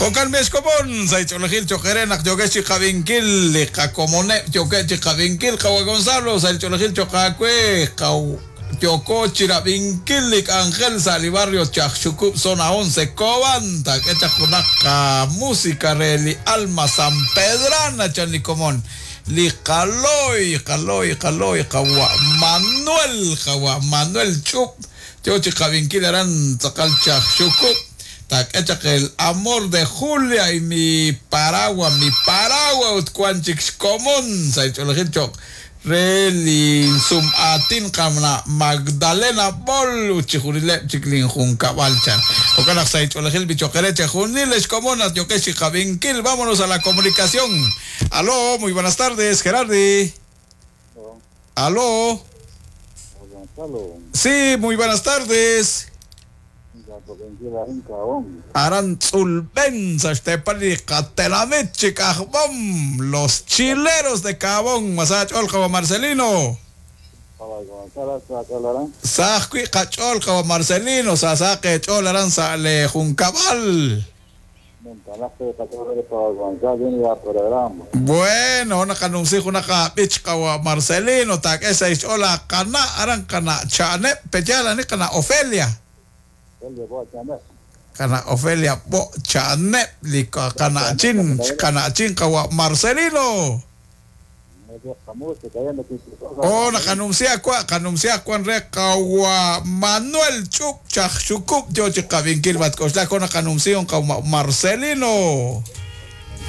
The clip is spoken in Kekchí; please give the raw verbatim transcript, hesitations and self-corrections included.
Jo'kan b'exkomon sa' ch'oolejil choq' naq yokex chi qab'inkil li qakomoneb' yoke' chi qab'inkil qawa Gonzalo sa' ch'oolejil choq' aawe qaw yoko chirab'inkil li k'anjel sa' li barrio Chajxukub' zona once Cobán taak'e chaq junaq música re li Alma San Pedrana chan li komon li qaloy qaloy qaloy qawa Manuel qawa Manuel Ch'ub yo chi qab'inkil aran tz'aqal Chajxukub' taak'e el amor de Julia y mi paragua mi paragua ut wan chik xkomon sa' ch'oolejil choq' re linsum aatin qamna Magdalena Bol ut chijunileb' chik linjunkab'al chan jo'kan naq sa' ch'oolejil bichoqere chejunil xkomon naq yokex chi qab'inkil. Vámonos a la comunicación. Aló, muy buenas tardes, Gerardi. Aló. Sí, muy buenas tardes. Aran Tzulben, Saxtepali, Catelamit, Chicajbom, los chileros de Cabón, Masach Olja Marcelino. Sajui Cachol, Marcelino, Sasaque Chol, Aran Sale Juncabal. Bueno, una canuncijo, una capichca, Marcelino, tak esa es hola, cana, aran cana, chane, pechala, ni cana, Ofelia. Kana Ofelia bo chanep li kana chin kana chin kawa Marcelino. Oh, nakanuncia kwa kanuncia kwan re kawa Manuel Chup Chajxukub yo chikabinkil bat koxla con kanuncia kawa Marcelino.